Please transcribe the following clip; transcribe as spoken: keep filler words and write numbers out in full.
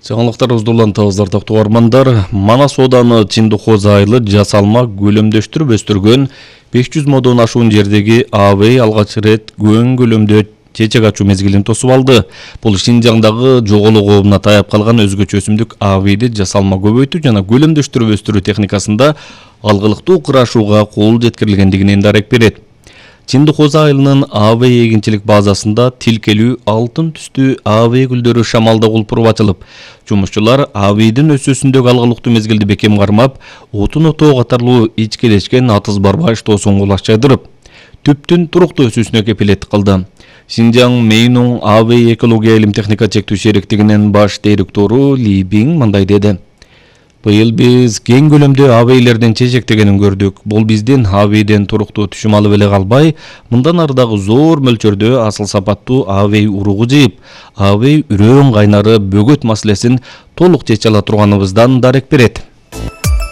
Жаңылыктарыбызды улантабыздар токтогормандар. Манас ооданы Чындыкоз айылы жасалма көлөмдөштүрүп өстүргөн беш жүз модон ашуун жердеги АВЭЙ алгач ирет көн көлөмдө чечек ачуу мезгилин тосуп алды. Бул Шинжаңдагы жоголуу коомуна таяп калган өзгөчө өсүмдүк АВЭЙди жасалма көбөйтүү жана көлөмдөштүрүп өстүрүү техникасында алгылыктуу кырашууга кол жеткирилгендигинен дарек берет. Чындыкоз айылынын АВЭЙ эгинчилик базасында тилкелүү алтын түстүү АВЭЙ гүлдөрү шамалда кулпуруп ачылып, жумушчулар АВЭЙдин өсүүсүндөгү алгылыктуу мезгилди бекем кармап, отун отоо катарлуу ичкелешкен атыз барба иштоосун кулаш жайдырып, түптүн туруктуу өсүүсүнө кепилеттик кылды. Шинжаң Мейнуң АВЭЙ экология илим техника чектүү шериктигинин баш директору Ли Бин мындай деди. Быйыл биз кең көлөмдө АВЭЙлердин чечектегенин көрдүк. Бул биздин АВЭЙден туруктуу түшүм алып эле калбай, мындан ары дагы зор мөлчөрдө асыл сапаттуу АВЭЙ уругу жыйып, АВЭЙ үрөөн кайнары бөгөт маселесин толук чече ала турганыбыздан дарек берет.